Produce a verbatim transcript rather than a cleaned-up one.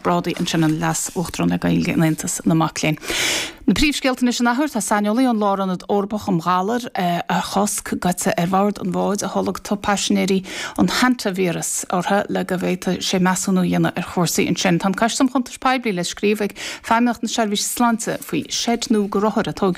Mac Brádaigh ansin an Leas-Uachtarán le Gaeilge in Aontas na Mac Léinn. Na príomhscéalta anois an athuair tá saineolaí ón Lárionad Eorpach um Ghalair a chosc gaite ar bhord an bháid a tholg paisinéirí an hantavíreas orthu le go bhféadfadh sé measúnú a dhéanamh ar chúrsaí ansin. Tá Coiste um Chuntais Poiblí le scríobh ag Feidhmeannacht na Seirbhíse Sláinte faoi seid nua do rothair a tógadh